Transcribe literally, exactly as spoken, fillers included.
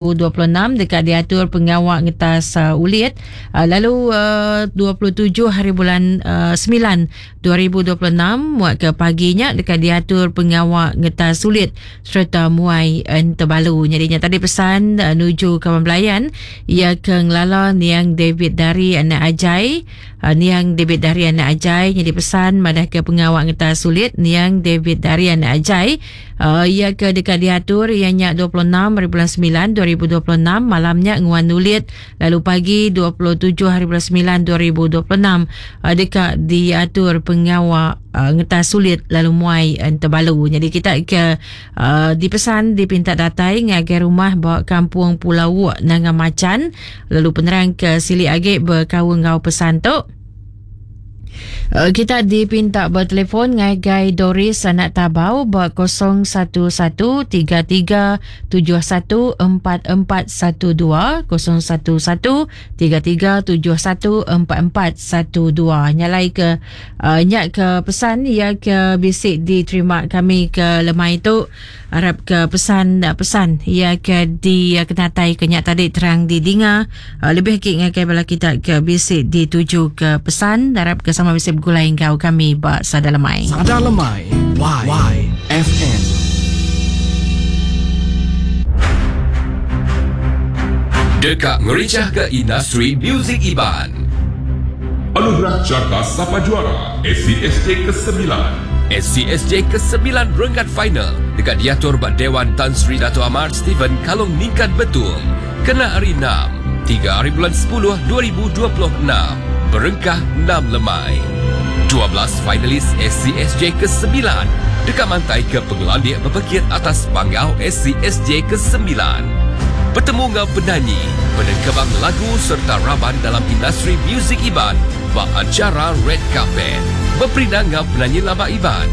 dua puluh enam dekat diatur pengawak ngetas uh, ulit uh, lalu uh, dua puluh tujuh hari bulan uh, sembilan dua ribu dua puluh enam muat ke paginya dekat diatur pengawak ngetas ulit serta muai entebalu. Jadinya tadi pesan uh, nuju kawan belayan ia ke ngelala niang David dari anak Ajai uh, niang David dari anak Ajai jadi pesan madah ke pengawak ngetas ulit niang David dari anak Ajai uh, ia ke dekat diatur ianya dua puluh enam hari bulan sembilan dua ribu dua puluh enam malamnya nguan nulit lalu pagi dua puluh tujuh hari bulan sembilan dua ribu dua puluh enam uh, dekat diatur pengawak uh, ngetas sulit lalu muai entebalu. Jadi kita ke uh, dipesan dipinta datai ngagai rumah ba kampung Pulau Wok Nanga Macan lalu penerang ke Sili Agik berkaul ngau pesan tu. Uh, kita dipinta bertelefon ngagai Doris anak Tabau ba kosong satu satu tiga tiga tujuh satu empat empat satu dua kosong satu satu tiga tiga tujuh satu empat empat satu dua. Nyalai ke uh, nyak ke pesan ya ke bisik diterima kami ke lemai itu. Harap ke pesan pesan ya ke di kenatai ke nyak tadi terang didinga uh, lebih ke ngagai bala kita ke bisik dituju ke pesan harap ke sama bisik bergulai engkau kami ba Sada Lemai. Sada Lemai Y Y F M. Dekat meriah ke industri muzik Iban. Anugerah Carta Sapa Juara S C S J kesembilan. S C S J kesembilan renggat final dekat diatur bak Dewan Tan Sri Dato' Amar Stephen Kalong Ningkan Betung. Kena hari enam, tiga hari bulan sepuluh dua ribu dua puluh enam. Berengkah enam lemai. dua belas finalis S C S J kesembilan dekat mantai ke pengelandik berpekit atas panggau S C S J kesembilan. Bertemu dengan penyanyi, penengkebang lagu serta raban dalam industri muzik Iban bak acara Red Carpet. Berperindang dengan penyanyi lama Iban,